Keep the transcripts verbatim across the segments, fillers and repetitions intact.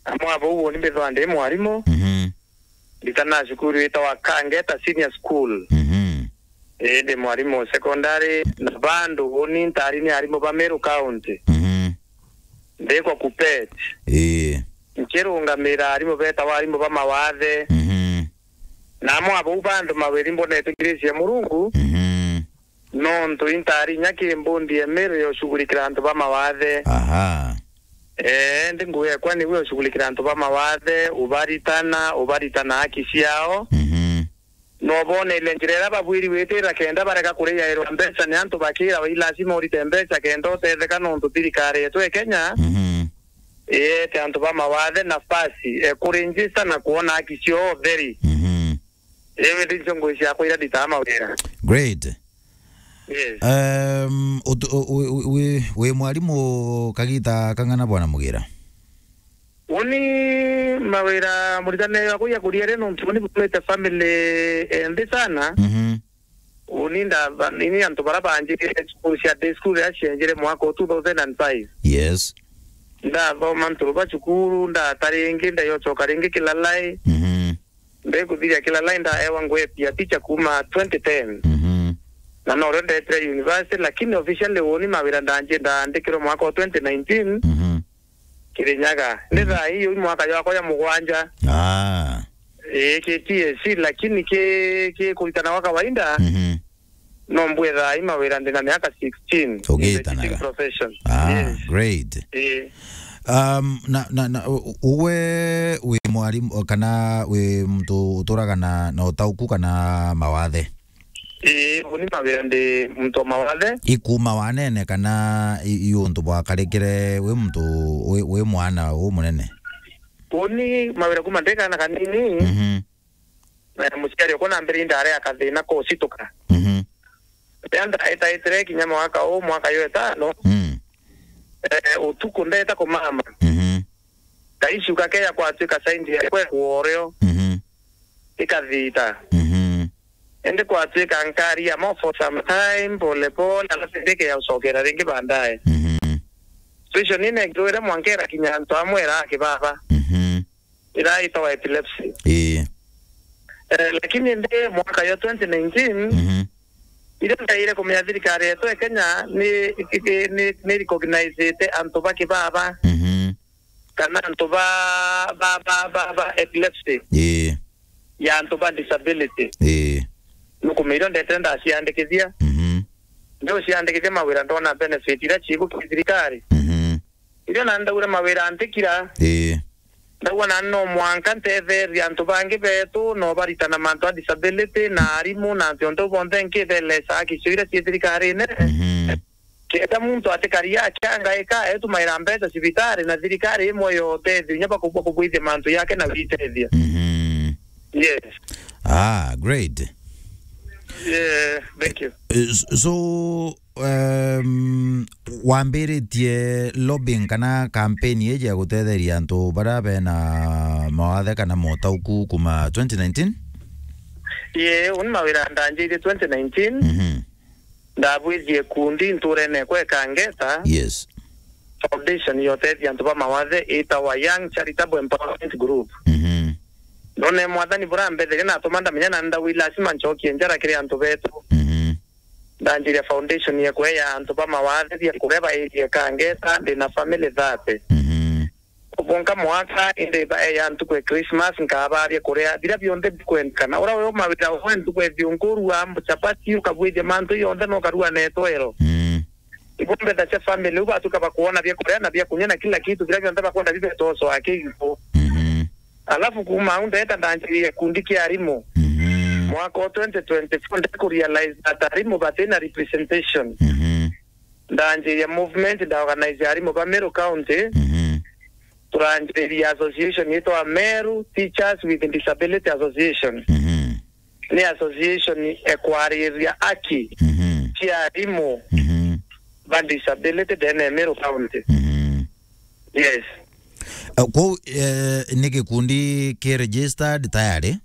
Amwe abo uuni mbithwa ndi mwarimu. Mhm. Nditana cukuru itawa Kangeta Senior School. Mhm. Ii, ndi mwarimu secondary, na bandu uuni ntari ni arimu ba Meru County. Mhm. Ndikwa Kupet. Ii. Nkirungamira arimu betawa arimu ba mawathe. Mhm. Na amwe abau bandu mawiri mbonete ngirisi ya Murungu. Mhm. Nontu intari inya ki mbundi ya Meru ya ushughulikira antu ba mawathe. Aha. Ee, ndi ngugi ekwa niwe ushughulikira antu ba mawathe, ubaritana, ubaritana haki ciao. Mhm. Noboneria njira iria babwiri gwitira kenda barega kuriairwa mbeca ni antu bakira, i lazima urite mbeca kenda utetheka, nontu thirikari yetu ya Kenya Mhm. iyete antu ba mawathe nafasi e kuregister na kuona haki ciao theri. Mhm. Iu ndi ncio ngugi ciakwa iria nditaa mawira. Great. Yes. Um, utu- u- u- wi- wi mwarimu kagita kang'ana, Bwana Mugira? Uni mawira muritane wakwa ya kuria ri, nontu uni bumite family enthi sana. Mhm. Uni ndaba- ini antu bara banjikire school cia day school ya cienjire mwaka wa two thousand and five. Yes. Ndathoma nturu ba cukuru, ndata ringi, ndayocoka ringi Kilalai. Mhm. Ndikuthiria Kilalai ndaewa ngugi ya teacher kuma twenty ten. Mhm. Na norio ndetire university, lakini officially uni mawira ndanji- ndaandikirwe mwaka wa twenty nineteen Mhm. Kirinyaga. Ni thaa ii ui mwaka jwakwa ya mugwanja. Ah. Ii, ki T S C, lakini ki, ki kuritana gwa kawaida. Mhm. No mbwithaa i mawira ndina miaka sixteen in the Ugitanaga. Teaching profession. Ah, yes. Great. Ii. Um, na, na, na, u- uwe wi mwarimu, kana wi muntu uturaga na, na utauku kana mawathe? Ii, uni mawira ndi muntu wa mawathe. Ikuma wanene kana i, i untu bwakarikire wi muntu wi, wi mwana umunene? Uni mawira kuma ndi kana kanini. Mhm. Na muciari okwa na mbere indare akathina kucituka. Mhm. Riria ndaitaitire kinya mwaka uu, mwaka yo itano, Mm. eh, utuku ndeta kumama. Mhm. Kaishuka keya kwatuika saindi ya kwe kuorio. Mhm. Ikathita. Mhm. Indi kwatuika nkaria mo for some time, pole pole, alafu ndike ya ucokera ringi baadaye. Mhm. Situation ine ngiwire mwankera kinya antu amwe era kibaba. Mhm. Ira itawa epilepsy. Ii. Eh, lakini ndi mwaka yo twenty nineteen, Mhm. iria ndaire kumenya thirikari yetu ya Kenya ni, ni, ni, ni recognizete antu ba kibaba Mhm. kana antu ba, ba, ba, ba, ba epilepsy Ii. ya antu ba disability. Ii. Nukumenya irio ndetire ndaciandikithia. Mhm. Ndio ciandikithia mawira ndona benefit iria ciku ki thirikari. Mhm. Irio na ndaura mawira antikira. Ii. Ndauga na no mwanka ntetherie antu bangi betu, no baritana mantu a disability, na arimu, na antu onthe bonthe nkithelesa haki cio iria cie thirikarine. Mhm. Kenda muntu atikaria akiangaika, etumaira mbeca cibitari, na thirikari imwe ya utethio, inya bakubwa kubwithia mantu yake na witethia. Mhm. Yes. Ah, great. Yeah, thank you. Eh, s- so, um, wambiritie lobbying kana campaign iji ya gutetheria antu baria bena mawathe kana motauku kuma twenty nineteen? Ye, uni mawira ndanjirie twenty nineteen. Mhm. Ndabwithie kundi nturene kwe Kangeta. Yes. Foundation ya utethia antu ba mawathe itawa Young Charitable Empowerment Group. Mhm. Ndone mwathani burambetheria natuma ndamenya na ndawi lazima ncokie njara kiri antu betu. Mhm. Ndanjiria foundation ya kueya antu ba mawathe bia kuria bairie Kangeta, ndi na family thirty. Mhm. Ubonka mwaka, indi baeya ntuku ya Christmas, nkabaria kuria biria bionthe bikwendekana. Ura we mawira we ntuku ya thiunkuru, wa chapati, ukabwithia mantu yonthe, no karua na etwero. Mm. Ibo mbetha cia family, u batuka bakuona bia kuria na bia kunywa na kila kitu, biria bionthe bakwenda bibetoswa akiipo. Mhm. Alafu kuma au ndeta ndanjirie kundi kia arimu. Mhm. Mwaka wa twenty twenty-four ndikurealize that arimu batina representation. Mhm. Ndanjiria movement, ndaorganize arimu ba Meru County. Mhm. Turanjiriria association yitwa Meru Teachers with Disability Association. Mhm. Ni association ekwariria aki Mhm. cia arimu Mhm. ba disability ndene ya Meru County. Mhm. Yes. Eh, kwou, eh, ni gikundi ki registered tayari?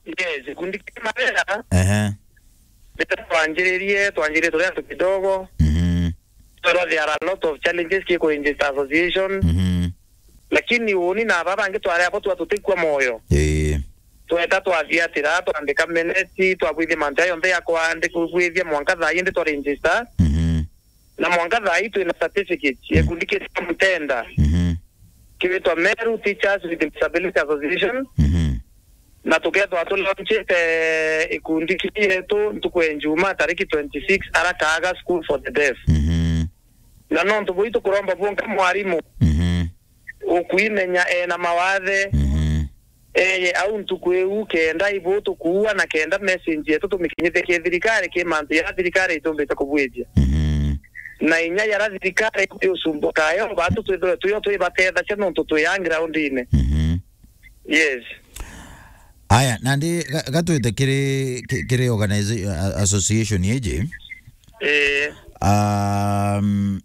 Yes, gikundi kia mawira. Ehe. Rita twanjiririe, twanjiririe turi antu kidogo. Mhm. Toro there are a lot of challenges ki kuinjita association. Mhm. Lakini Lakini uni na baba bangi twari abo twa tutikua moyo. Ii. Tweta twathiatira, twandika minutes, twabwithia mantu ya yonthe ya kwandika, kwithia mwanka thaa indi twa register. Mhm. Na mwanka thaa ii twina certificate ya gikundi kia Mutenda. Mhm. Kiwitwa Meru Teachers with Disability Association. Mhm. Na tukethwa tulaunchite ikundi kietu ntuku ya Njuma tariki twenty-six ara Kaaga School for the Deaf. Mhm. Na nontu bui tukuromba bwonka mwarimu. Mhm. Ukwimenya ena mawathe. Mhm. Eye au ntuku iu kenda ibu tukuua na kenda message yetu tumikinyithie ki thirikari ki mantu ya thirikari itumbite kubwithia. Mhm. Na inya yara thirikari iusumbukayo batu twithwe tuyo twibatethacia nontu twi ya groundine. Mhm. Yes. Aya, nandi ga-, gatwite kiri, ki-, kiri organiza-, a-, association iji. Ee. Um,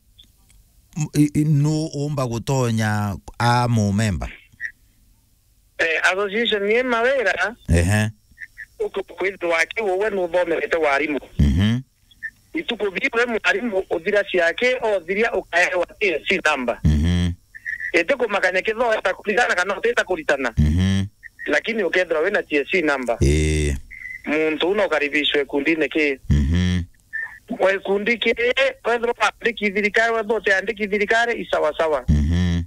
m-, i-, i-, nu umba gutonya a mumemba? Eh, association ni mawira. Ehe. Uku-, kwithirwa ki uwe nuthomerete warimu. Mhm. Ituku biu we mwarimu uthira ciake, othiria ukaewa T S C number. Mhm. Iti kumakania kethira weta kuritana kana utita kuritana. Mhm. Lakini ukethirwa wina T S C number. Ii. Muntu uu no ukaribishwe ikundine ki. Mhm. Gikundi ki, wethirwa wandiki thirikari, wethirwa utiandiki thirikari, i sawa sawa. Mhm.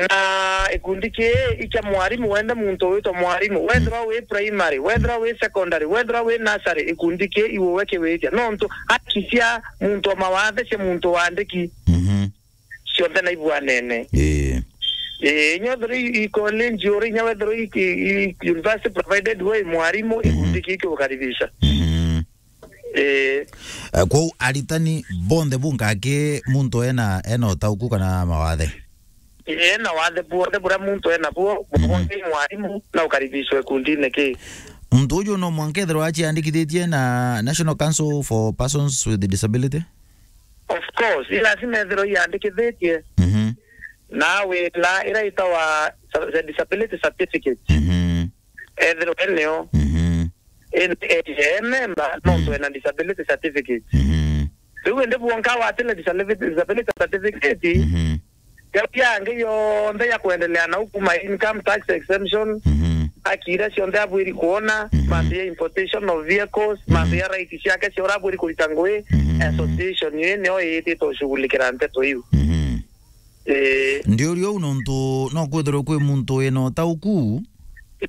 Na ikundi kii i kia mwarimu, wenda muntu witwa mwarimu, wethirwa wi primary, wethirwa wi secondary, wethirwa wi nursery, ikundi kii iwe kiwitia. Nontu haki cia muntu wa mawathe, cia muntu wandiki, Mhm. cionthe na ibuanene. Ii. Ii, inya wethirwa i, i college uri, inya wethirwa i, i, i university, provided we mwarimu, Mhm. ikundi kii kiukaribisha. Mhm. Ii. Eh, kwou aritani bonthe bunka aki muntu ena, ena utauku kana mawathe? Ii, ena wathe buonthe buria muntu ena buo, Mhm. bonthe i mwarimu, na ukaribishwe ikundine ki. Muntu uju no mwanka ethirwa aciandikithitie na National Council for Persons with Disability? Of course, i lazima ethirwa iandikithitie. Mhm. Na wila ira itawa sa-, disability certificate. Mhm. Ethirwa eneo. Mhm. Indi ethirwa e member, nontu Mhm. ena disability certificate. Mhm. Riu indi bwonka watile disability, disability certificate, Mhm. yau yangi yonthe ya kuendelea nau kuma income tax exemption, Mhm. haki iria cionthe abwiri kuona, Mhm. mantu ya importation of vehicles, Mhm. mantu ya right ciake cia uria abwiri kurita ngui, Mhm. association ii nio iitite ushughulikira nteto iu. Mhm. Ii. Ndiuria uu nontu no kwithirwe kwi muntu wina utauku,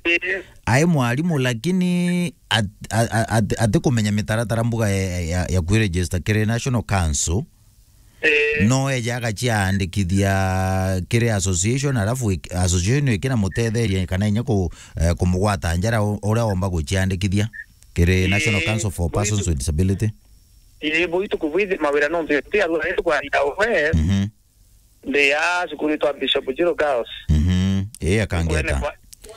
Ii. ai mwarimu, lakini at-, a-, a-, at-, atikumenya mitaratara mbuga ya, ya, ya kwiregister kiri National Council. Ii. No eja agaciandikithia kiri association, alafu ik-, association ikinamutetheria kana inya ku-, eh, kumugwata njara u-, uria omba guciandikithia kiri Ii. National Council for Persons with Disability. Ii, bui tukubwithi mawira nontu ti arua ri tukwaria we. Mhm. Ndi ya cukuru itwa Bishop Jiro Girls. Mhm. Ii, Kangeta. Kwene kwa,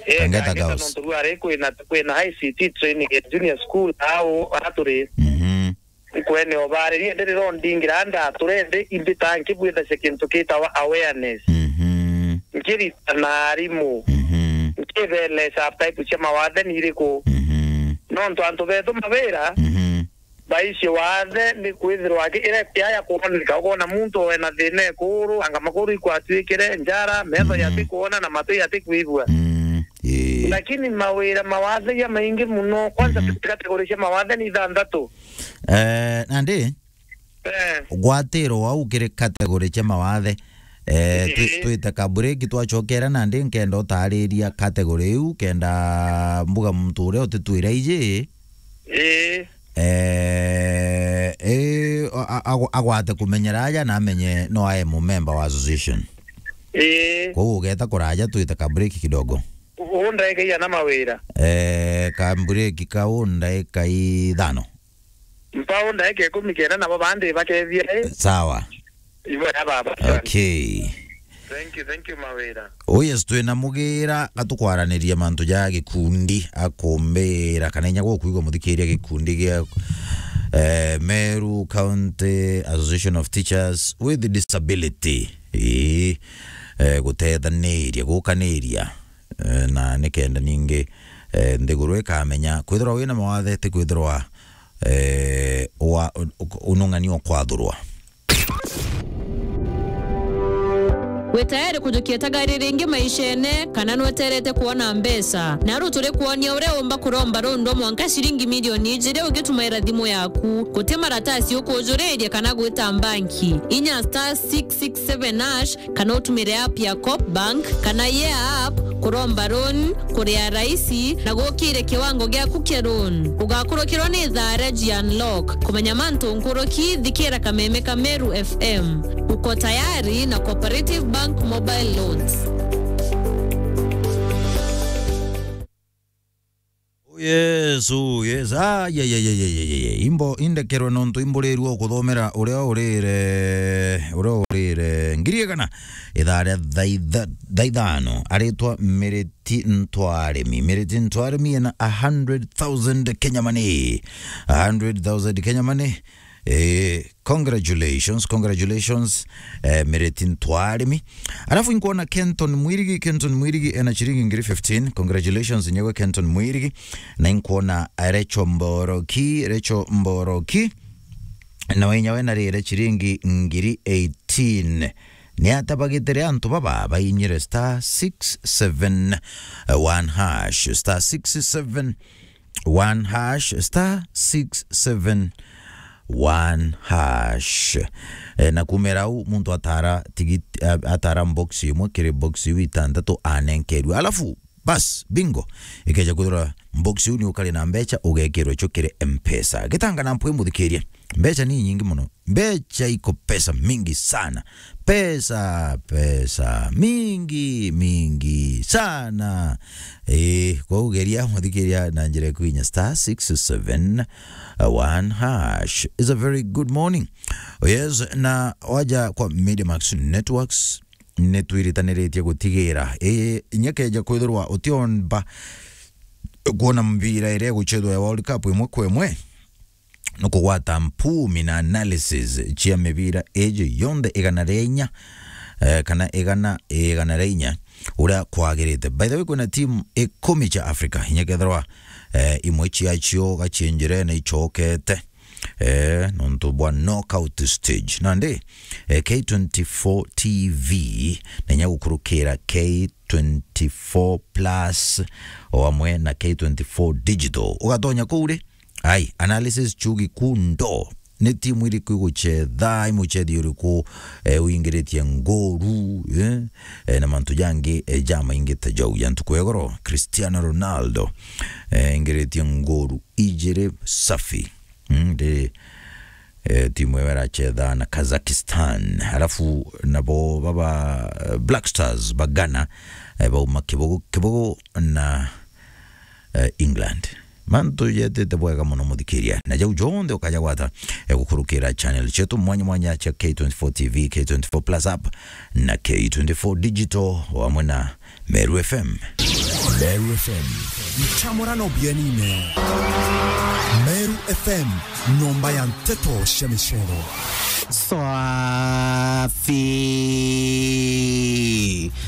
ii, Kangeta Kangeta Girls. Nontu rua ri kwina, kwina I C T training at junior school au, aria turi. Mhm. Nkwene obaririe ndi riro ndingira nda turende imbita nkibwithacia kintu kitawa awareness. Mhm. Nkirita na arimu. Mhm. Nkibelesa type cia mawathe ni iriku. Mhm. Nontu antu betu mawira, Mhm. baici wathe ni kwithirwa aki-, ira kiaya kuoneka, ukona muntu wena thina ekuru, anga makuru ikwatwikire, njara, metho Mm. yati kuona na matu yati kwigua. Mm, ii. Lakini mawira mawathe ja maingi muno, kwanza Mhm. category cia mawathe ni ithanthatu. Eh, nandi, Eh. gwatiro wau kiri category cia mawathe. Eh, twi-, Ii. twite ka break, twacokera nandi nkenda utariria category iu, kenda mbuga muntu uria utitwira iji. Ii. Eh, eh, a-, a-, agwa-, agwate kumenyera aja na amenye no ae mumemba wa association. Ii. Kwou ugeta kuraja twite ka break kidogo. U-, undaike iana mawira? Eh, ka break kau ndaika ithano. Mpa undaike ikumi kenda nabo bandi bakethia, eh? Sawa. Ibo ya baba. Okay. Thank you, thank you, Mawira. Oh yes, twina Mugira, gatukwaraniria mantu ja gikundi, akumbira kana inya gukwigua muthikiria gikundi gia, eh, Meru County Association of Teachers with Disability. Ii, eh, gutethaniria, gukaniria, eh, na nikenda ningi, eh, nthiguru ikamenya kwithirwa wina mawathe ti kwithirwa, eh, wa, u-, u-, unung'ani o kwathurwa. Wi tayari kujukia itagari ringi maishene, kana nweterete kwona mbeca? Naru turi kwonia uria umba kuromba rundu mwanka ciringi milioni ijiri ugitumaira thimu yaku. Guti maratasi ukujuriria kana gwita mbanki. Inya star six six seven hash, kana utumire app ya Coop Bank kana Yeah App kuromba loan, kuria raisi, na gukire kiwango giaku kia loan. Ugakurukirwa ni ithaa ria G Unlock. Kumenya mantu nkuruki, thikira kameme ka Meru F M. Uko tayari na Cooperative Bank Mobile Loans. Oh, yes, oh, yes. Ah, yeah, yeah, yeah, yeah, yeah, yeah, yeah. Imbo indekerwe nontu imburirwe kuthomera uria urire, uria urire ngiri igana ithaa ria thaa itha-, thaa ithano. Aritwa Miriti Ntwarimi. Miriti Ntwarimi ena a hundred thousand Kenya money. A hundred thousand Kenya money. Eh, congratulations, congratulations, eh, Miriti Ntwarimi. Alafu inkuona Kenton Mwirigi, Kenton Mwirigi ena ciringi ngiri fifteen. Congratulations, nyewe Kenton Mwirigi. Na inkuona Recho Mboroki, Recho Mboroki. Na wenyawe narire ciringi ngiri eighteen. Ni atabagitire antu baba bainyire star six seven one hash, star six seven one hash, star six seven one hash. E, na kumira u muntu atara tigit-, a-, atara box imwe kiri box iu itantatu anenkerwe. Alafu, bas, bingo. Ikeja kwithirwa box iu ni ukari na mbecha, ugekirwa icio kiri M-Pesa. Gitanga na mpwi muthikirie. Mbecha ni nyingi muno. Mbecha iko pesa mingi sana. Pesa, pesa mingi, mingi sana. Eh, kwa ugeria muthikiria na njira ya kuinya star six seven one hash. Is a very good morning. Oh yes, na waja kwa Mediamax Networks, ni twiritaniritie gutigira. Eh, inya keja kwithirwa utiomba kuona mpira iria iguchethwa ya World Cup imwe kwa imwe, nukugwata mpumi na analysis cia mibira iji yonthe igana ria inya, eh, kana igana, igana ria inya uria kwagirite. By the way, kwina timu ikumi cia Africa, inya kethirwa, eh, imwe ciacio gacienjirene icokete, eh, nontu bwa knockout stage. Nandi, eh, K twenty-four T V, na inya gukurukira K twenty-four Plus, o amwe na K twenty-four Digital. Ugatonya kuu ri, ai, analysis chugi kundo. Ni timu iriku iguchetha, imuchethi uriku, eh, uingiritie ngoru, eh, eh, na mantu jangi, eh, jamaingi ta jau. Ya ntuku ya igoro, Cristiano Ronaldo, eh, ingiritie ngoru ijiri safi. Mm, ndi, eh, timu iyo irachetha na Kazakhstan. Alafu nabo baba, eh, Black Stars ba Ghana, eh, bauma kibugu, kibugu na, eh, England. Mantu jetete bwega muno muthikiria. Na jau jonthe ukaja gwata, eh, gukurukira channel chetu mwanya mwanya cha K twenty-four T V, K twenty-four Plus app na K twenty-four Digital, o amwe na Meru F M. Meru F M. Nchamurano bienine. Meru F M, nyomba ya nteto cia micero. Swafi.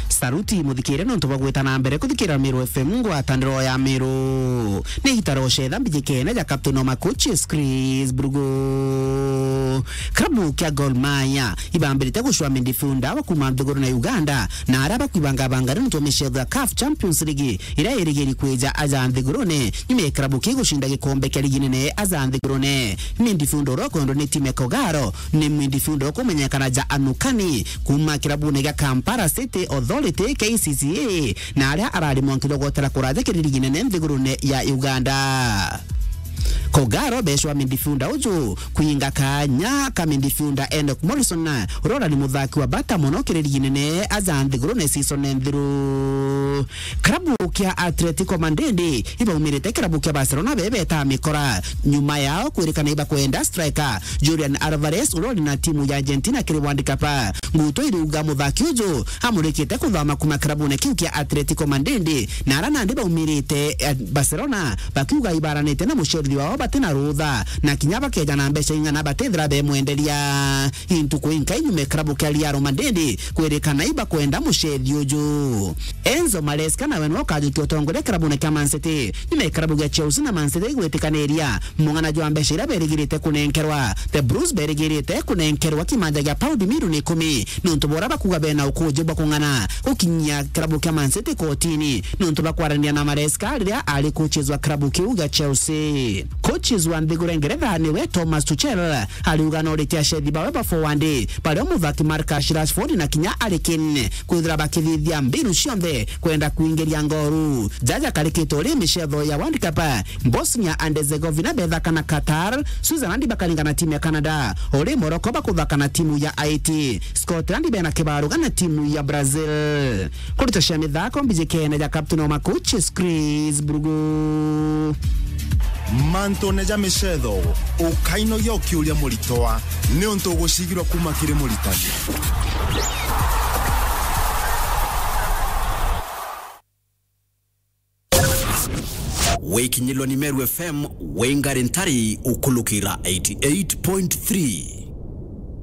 Saruti muthikire nontu bwa gwita na mbere kuthikira Meru F M, ngwataniro ya Meru. Ni igita ria ucetha mbijikene ja Captain Omakuchi Chris Brugo. Klabu kia Gor Mahia ibambirite gucua midfielder wa kuma nthiguru na Uganda, na aria bakwibangabanga nontu wa micetho ya CAF Champions League iria irigiri kwija aja nthigurune nyuma ya klabu kii gucinda gikombe kia ligi nene aja nthigurune. Midfielder uria ukwendwa ni timu ya Kogalo ni midfielder ukumenyekana ja Anukani kuma kirabune gia Kampala City Authority, K C C A, na aria arari mwanki jwa gwotera kuraja kiri ligi nene nthigurune ya Uganda. Kogalo becwa midfielder uju kwinga kanya ka midfielder Enock Morrison, uria urari muthaki wa bata muno kiri ligi nene aja nthigurune season nthiru. Klabu kia Atletico Madrid ibaumirite klabu kia Barcelona bebeta mikora nyuma yao kwirikana ibakwenda striker Julian Alvarez uria uri na timu ya Argentina kiri World Cup. Nguto iriuga muthaki uju amurikite kuthama kuma klabune kiu kia Atletico Madrid, na ara nandi baumirite, eh, Barcelona bakiuga ibaranite na mucerithia wao batina rutha, na kinya bakeja na mbeca ing'ana batithira bemwenderia. Intuku inkai nyuma ya kirabu kia Real Madrid kwirikana ibakwenda mucethi uju. Enzo Maresca nawe nwe ukajukia utongoria kirabune kia Man City, nyuma ya kirabu gia Chelsea na Man City igwitikaniria mung'ana jwa mbeca iria berigirite kunenkerwa. The Blues berigirite kunenkerwa kimanja gia paundi milioni ikumi, nontu bora bakuga bena ukuji bwa kung'ana gukinyia kirabu kia Man City kotini, nontu bwa kwaraniria na Maresca riria ari coaches wa kirabu kiu gia Chelsea. Coaches wa nthiguru ya Ngeretha niwe Thomas Tuchel ariuga no ritia acethi bawe ba forward, bario muthaki Marcus Rashford na kinya Harry Kane kwithira bakithithia mbinu cionthe kwenda kuingiria ngoru. Jaja karikite uri micetho ya World Cup, Bosnia and Herzegovina bethaka na Qatar, Switzerland bakaringa na timu ya Canada, uri Morocco bakuthaka na timu ya Haiti, Scotland bena kibaruga na timu ya Brazil. Kurita cia mithako mbiji kene ja Captain wa Makuchi, Chris Brugu. Mantune ja micetho, ukainogia ukiuria muritwa, niuntu ugucigirwa kuma kiri muritani. Wikinyilwa ni Meru F M, wingari ntari ukulukira eighty eight point three.